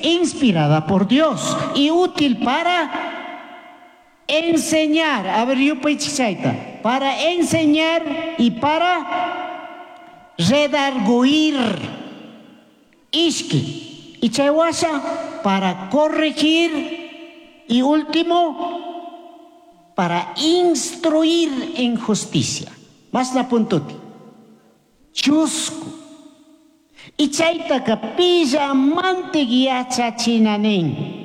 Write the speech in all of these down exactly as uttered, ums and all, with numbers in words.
inspirada por Dios y útil para enseñar. A ver, yupaychik. Para enseñar y para redarguir. Ishki. Y chay washa para corregir. Y último, para instruir en justicia. Mashna puntuti. Chusku. Y chaytaka pillamantik yachachina nin.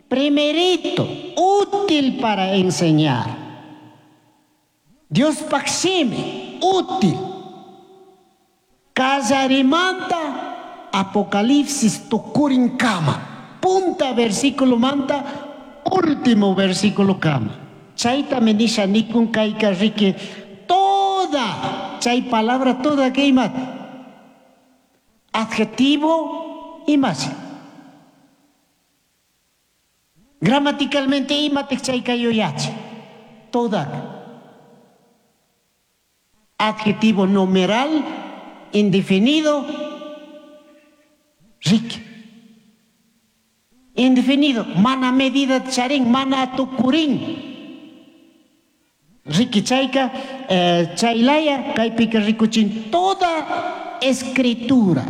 Primerito, útil para enseñar. Diospaj shimi, útil. Kallarimanta, Apocalipsis tukurin kama. Punta versículo manta, último versículo kama. Chayta nisha nikun kayka riki toda, chay palabra toda que ima. Adjetivo imashi. Gramaticalmente imatik chayka yuyachi. Toda. Adjetivo numeral, indefinido, riki. Indefinido, mana medida charin, mana tukurin. Riki chayka, eh, chaylaya, kaypika rikuchin, toda escritura.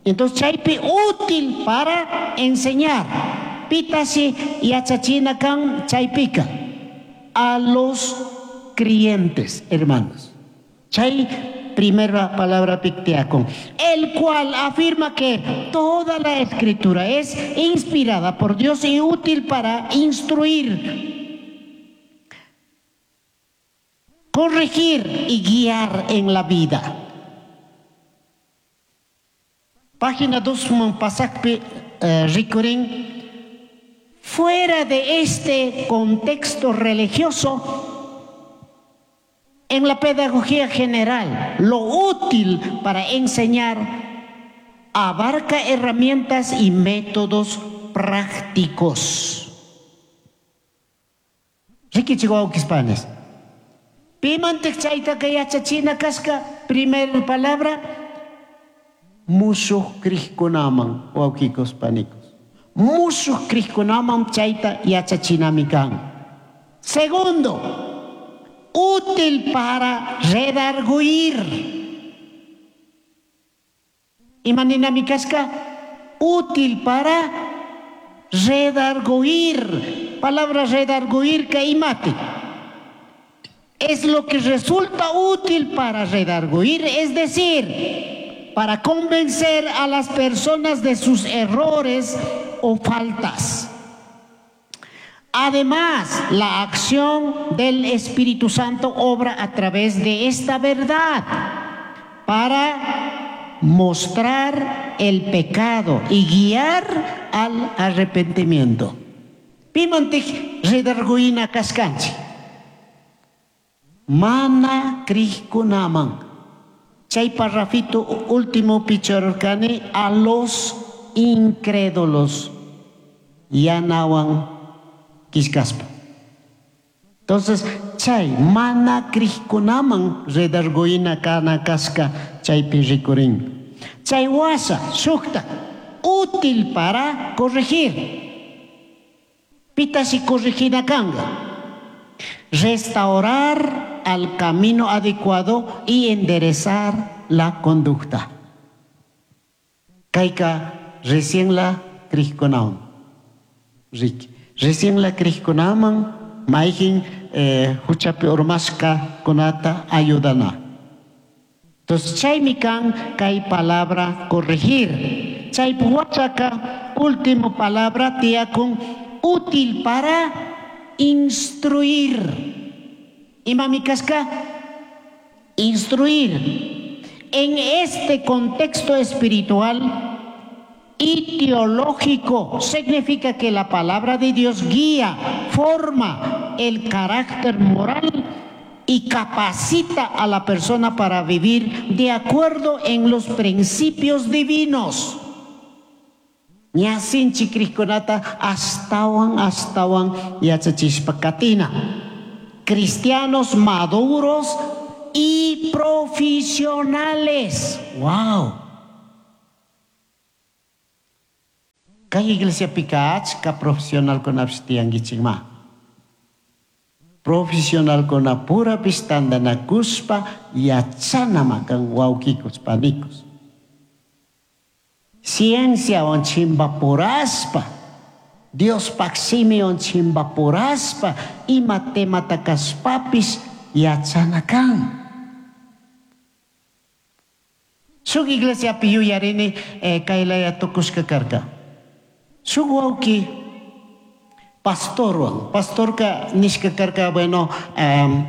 Entonces chaypi útil para enseñar. Pitashi yachachina kan chaypika a los creyentes, hermanos. Chay primera palabra picteacon, el cual afirma que toda la escritura es inspirada por Dios y útil para instruir, corregir y guiar en la vida. Página dos, pasakpi eh, rikurin. Fuera de este contexto religioso, en la pedagogía general, lo útil para enseñar abarca herramientas y métodos prácticos. Riki wawkis panis. Pimantik chaytaka yachachina kashka, primera palabra, mushuj crijkunaman, wawkikos panikos. Mushuj crijkunaman chayta yachachinami kan. Segundo, útil para redarguir. Imaninami kashka, útil para redarguir. Palabra redarguir ka imati. Es lo que resulta útil para redarguir, es decir, para convencer a las personas de sus errores o faltas. Además, la acción del Espíritu Santo obra a través de esta verdad para mostrar el pecado y guiar al arrepentimiento. Pimantik redarguina kashkanchik. Mana crijkunaman. Chay parrafito último pichorkani a los incrédulos. Yanawan kishkaspa. Entonces, chay mana crijkunaman redarguina kana kashka chaypi rikurin. Chay washa shukta útil para corregir. Pitashi corregina kanga. Restaurar al camino adecuado y enderezar la conducta. Kayka recién la crijkunaman. Recién la crijkunaman mayjin eh, huchapi urmashka kunata ayudana. Entonces, chaymi kan kay palabra corregir. Chay wachaka último palabra tiyakun útil para instruir. Imami kashka instruir. En este contexto espiritual y teológico significa que la palabra de Dios guía, forma el carácter moral y capacita a la persona para vivir de acuerdo en los principios divinos. Ña sinchi crijkunata ashtawan ashtawan yachachishpa katina. Cristianos maduros y profesionales. Wow. Kay iglesiapika achka profesionalkunapish tiyankichikma. Profesionalkunapurapish tantanakushpa yachanama kan wawkikus panikus. Cienciawan chimpapurashpa, Diospaj shimiwan chimpapurashpa, ima temata kashpapish yachana kan. Shuk iglesiapi yuyarini eh, kaylaya tukushka karka. Shuk wawki pastorwan, pastorka nishka karka, bueno, um,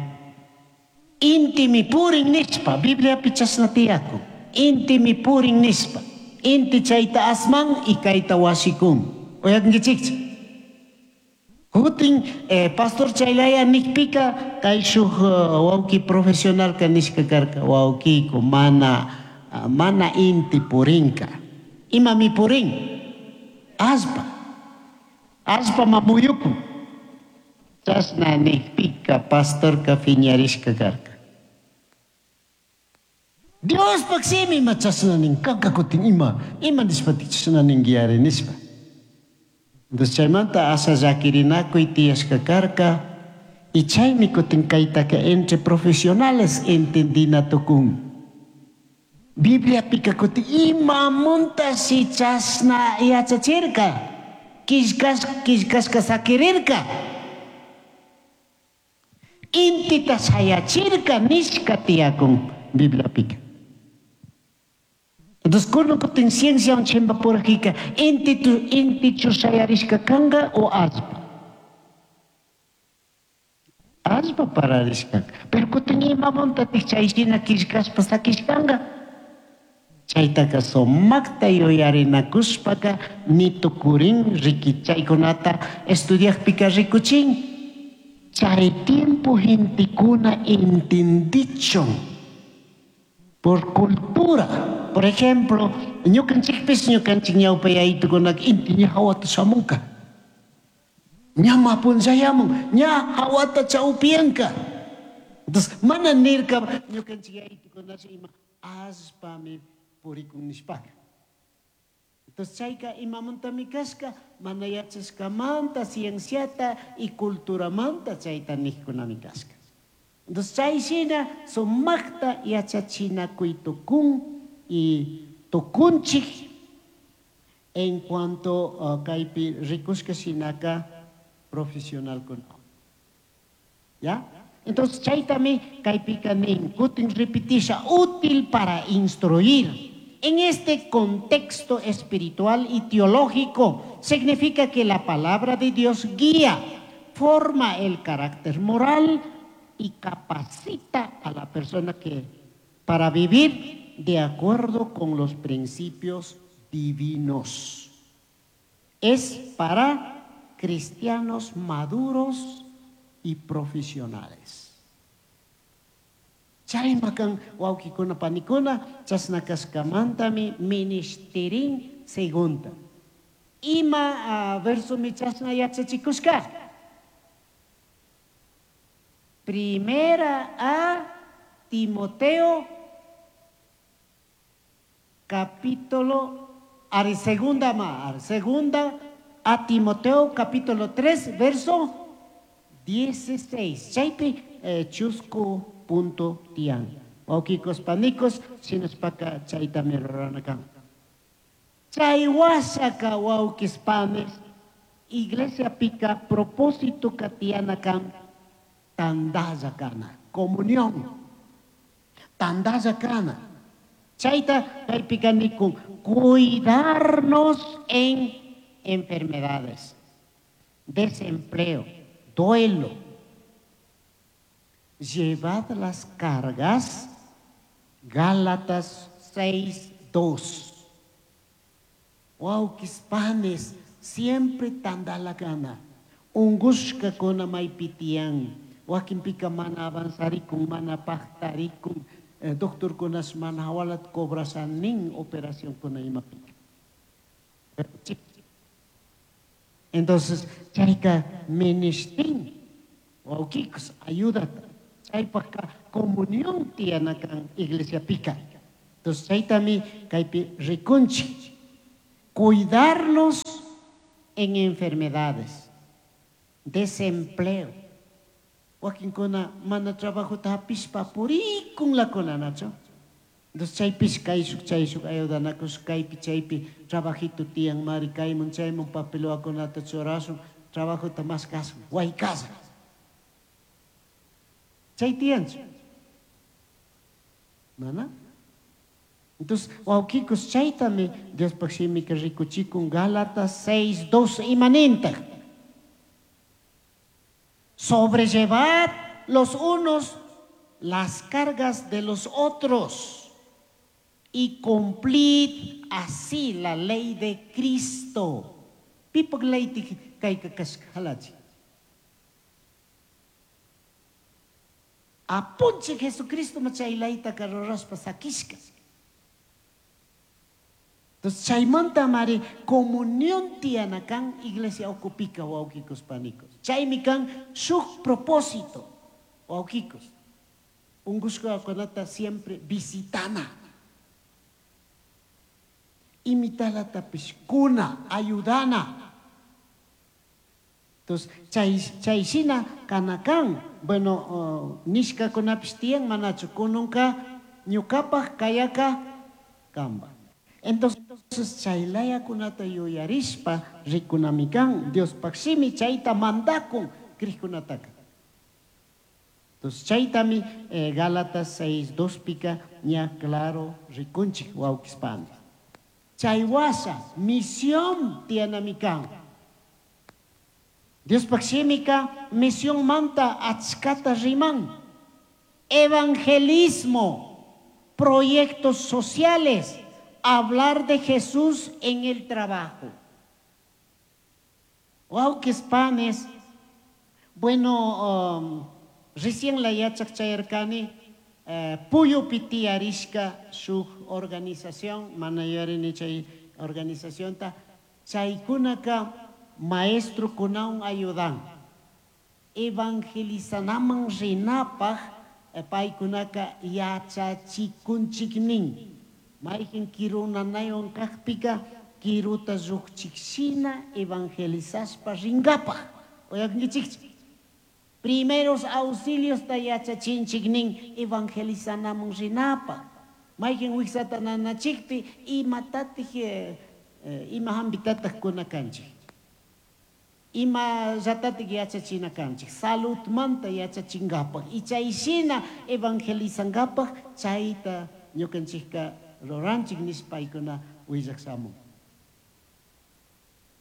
intimi purin nishpa, Bibliapi chashna tiyakun, intimi purin nishpa, inti chayta asman y kayta wasikun. Uyakunkichikchu? Kutin eh, pastor chaylaya nikpika kay shuk uh, wawki profesionalka nishka karka, wawkiku mana, uh, mana inti purinka. Imami purin? Allpa. Allpa mamuyukun. Chashna nikpika pastorka piñarishka karka. Diospaj shimi ima chashna nin, kanka kutin ima, ima nishpatik chashna ninki nishpa. Entonces chaymanta asha llakirinakuy tiyashka karka y chaymi kutin kaytaka entre profesionales entendina tukun. Bibliapika kutin imamuntashi chashna yachachirka, killkash, killkashka sakirirka. Intita shayachirka nishka tiyakun Bibliapika. Entonces, kunan kutin cienciawan chimpapurajika, inti intichu shayarishka kanka o allpa. Allpa pararishka. Pero kutin imamuntatik chay shina killkashpa sakishkanka. Chaytaka sumakta yuyarinakushpaka ni tukurin riki chaykunata estudiakpika rikuchin. Chay tiempo gentekuna entendichun por cultura. Por ejemplo, ñukanchikpis ñukanchik ñawpa yayitukunaka inti ña hawata shamunka. Ña mapunllayamun, ña hawata chawpiyanka. Entonces, mana nirka ñukanchik yayitukunash ima allpami purikun nishpaka. Entonces, chayka imamuntami kashka, mana yachashkamanta, cienciata y culturamanta chayta nijkunami kashka. Entonces, chay shina sumakta yachachinakuy tukun y tukunchik en cuanto uh, kaypi rikushka shinaka profesionalkuna. ¿Ya? Entonces, chaytami kaypika nin, kutin repitisha, útil para instruir. En este contexto espiritual y teológico, significa que la palabra de Dios guía, forma el carácter moral y capacita a la persona que para vivir de acuerdo con los principios divinos. Es para cristianos maduros y profesionales. Chaymakan wawkikuna panikuna chashna kashkamantami ministerin segunda. Ima uh, verso mi chashna yachachikushka. Primera a Timoteo capítulo, ari segunda ma, ari segunda a Timoteo capítulo tres verso dieciséis. Chaypi eh, chusku punto tian. Wawkikos panikos shinashpaka chaytami rurana kan. Chay washaka wawkis panes iglesia pika propósito katiana kan tandalla kana, comunión. Tandalla kana. Chayta kaypika nikun cuidarnos en enfermedades, desempleo, duelo. Llevad las cargas, Gálatas seis, dos. Wawkis panes, siempre tandalakana. Ungushka kuna maypitiyan. Wakinpika mana avanzarikun, mana pajtarikun. Eh, doctor kunas mana hawalat cobrasanin operación kuna imapika. Entonces, chayka ministin, wawkikos, ayúdate. Chaypajka comunión tiyanakan iglesia pica. Entonces, chaytami kaypi rikunchik. Cuidarnos en enfermedades, desempleo. Wakinkuna mana trabajota hapishpa purikunlakuna, nachu? Entonces chaypish kayshuk chayshuk ayudanakush kaypi chaypi trabajito tiyan mari kaymun chaymun papelwakunata churashun trabajota maskashun waykasha. Chay tiyanchu? Mana? Entonces, wawkikus chaytami Diospaj shimika rikuchikun Gálatas seis dos imanintaj. Sobrellevad los unos las cargas de los otros y cumplid así la ley de Cristo. Pipaj ley kayka kashka halachi. Apunchik Jesucristo chay leytaka rurashpa sakishka. Entonces, chaymanta mari comunión tiyana kan iglesia ukupika wawkikus panikos. Chaymi kan shuk propósito wawkikus. Ungushkakunata siempre visitana. Imitalatapish kuna, ayudana. Entonces, chay, chay shina kanakan, bueno, uh, nishkakunapish tiyan manachu kununka ñukapaj kayaka kamba. Entonces, chaylayakunata yuyarishpa rikunami kan, Diospaj shimi chayta mandakun krijkunataka. Entonces, chaytami eh, Gálatas seis dos pika ña claro rikunchik wawkispani. Chay washa misión tiyanami kan. Diospaj shimika misión manta achkata riman. Evangelismo, proyectos sociales, hablar de Jesús en el trabajo. Wawkispanes, bueno, um, recién la yachak chayarkani, eh, Puyupi tiyarishka shuk organización, mana yuyarini chay organizacionta, chaykunaka maestro kunawan ayudan. Evangelizanaman rinapaj, eh, paykunaka yachachikunchiknin. Mayqin kiru nanaywan kaqpika kiruta lluqchikshina evangelizashpa ringapaj. Uyakunkichikchu? Primeros auxilios ta yachachinchiknin evangelizanaman rinapaj. Mayqin wiksata nanachikpi imatatik, eh, eh, ima hampitataq kuna kanchik. Ima llatatik yachachina kanchik. Saludmanta yachachingapaj. Y chayshina evangelizangapaj chayta ñukanchikka ruranchik nishpaykuna willak shamun.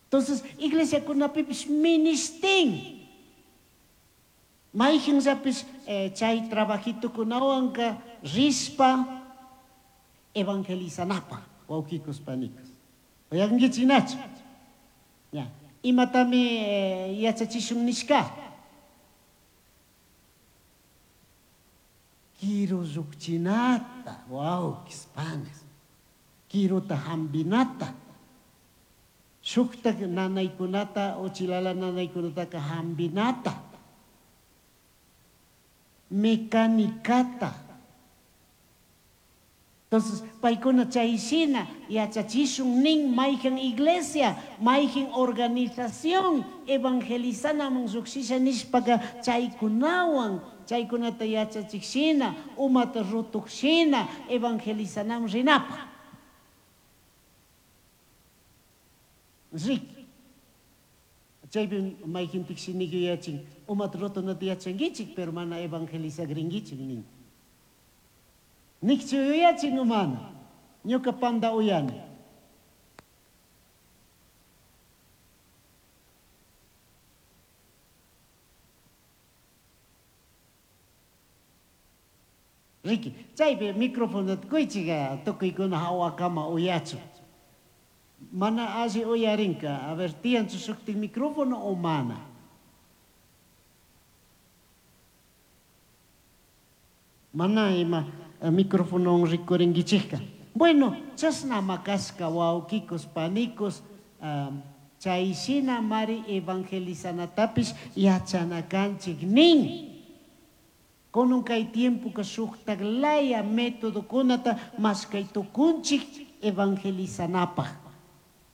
Entonces, iglesiakunapipish ministin. Mayqinllapis, eh, chay trabajitukunawanka rishpa evangelizanapaj, wawkikus panikus. Uyakunkichik nachu? Ya. Imatami, eh, yachachishun nishka? Kiru llukchinata, wawkis panes. Kiruta hambinata. Shuktak nanaykunata, uchilala nanaykunataka hambinata. Mecanicata. Entonces, paykuna chayshina yachachishun nin mayqin iglesia, mayqin organización evangelizanaman lluqshisha nishpaka chaykunawan, chaykunata yachachikshina, umata rutukshina evangelizanaman rinapaj. Riki. Chaypi mayqin tikshiniki yachin, umata rutunata yachankichik, pero mana evangelizagrinkichik nin. Nikchu yuyachin umana, ñuka panda uyani. Riki, chaypi microfonota kuychika tukuykuna hawakama uyachu. Mana alli uyarinka, a ver, tiyanchu shuktik micrófono o mana? Mana ima micrófono rikurinkichikka. Bueno, chasna makashka wawkikus panikos, um, chayshina mari evangelizanatapish yachanakanchik nin. Kunun kay tiempoka shuktak laya metodokunata mashkay tukunchik evangelizanapaj.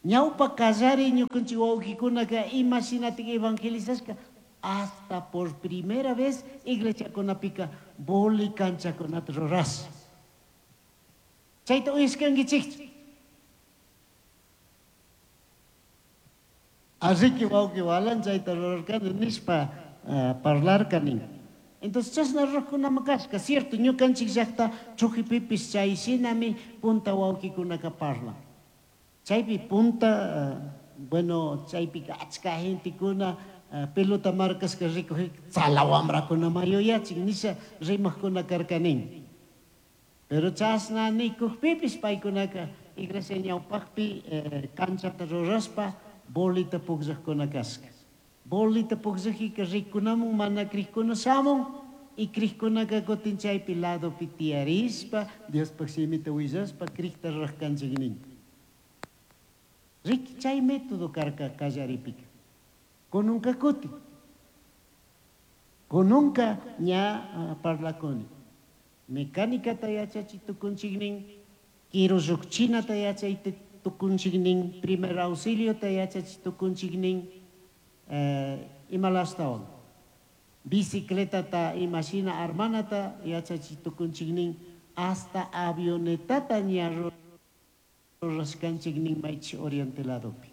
Ñawpa kallari ñukanchik wawqikunaka ima shinatik evangelizashka hasta por primera vez iglesiakunapika boli canchakunata rurash. Chayta uyashkankichikchu? Así que wawqi walan chayta rurarkani nishpa parlarkani. Entonces chashna rurajkunami kashka, cierto, ñukanchik llakta Chujipipis chay shinami punta wawqikunaka parlan. Chaypi punta, bueno, chaypika achka gentekuna pelota marcashka rikujika tzala wamrakunama yuyachin nisha rimajkuna karkanin. Pero chashna nikujpipis paykunaka iglesia ñawpakpi canchata rurashpa bolita pukllajkuna kashka. Bolita pukllajika rikunamun mana krikuna shamun y krikkunaka kutin chaypi ladopi tiyarishpa Diospaj shimita willashpa krikta rurajkanchik nin. Riki chay método karka kallaripika. Kununka kutin. Kununka ña parlakuni. Mecánicata yachachi tukunchik nin, kirullukchinata yachay tukunchik nin, primer auxiliota yachachi tukunchik nin, imalastawan. Bicicletata imashina armanata yachachi tukunchik nin, hasta avionetata ña rurashkanchik nin maychi oriente ladopi.